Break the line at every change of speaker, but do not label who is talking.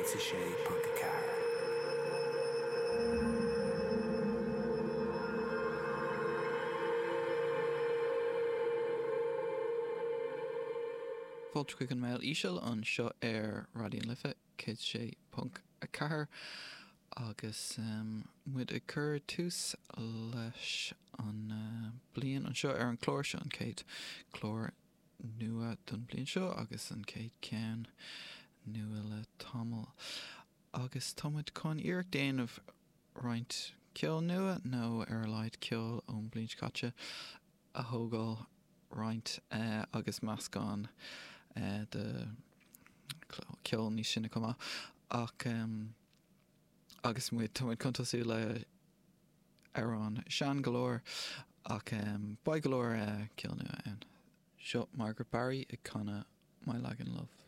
106.4.
Fáilte chuig an Mbéal Íseal anseo ar Raidió na Life 106.4 agus muid ag cur tús leis an bliain anseo ar an chlár seo, an chéad chlár nua don bhliain seo agus an chéad cheann nua le tamall. Agus tá muid chun iarracht déanamh roinnt ceol nua nó ar a laghad ceol ón bhliain seo caite a thógáil roinnt agus meascán de cheol níos sine chomh maith ach agus muid tá muid chun tosú le amhrán sean go leor ach beidh go leor ceol nua ann. Seo Margaret Barry ag canadh My Lagan Love.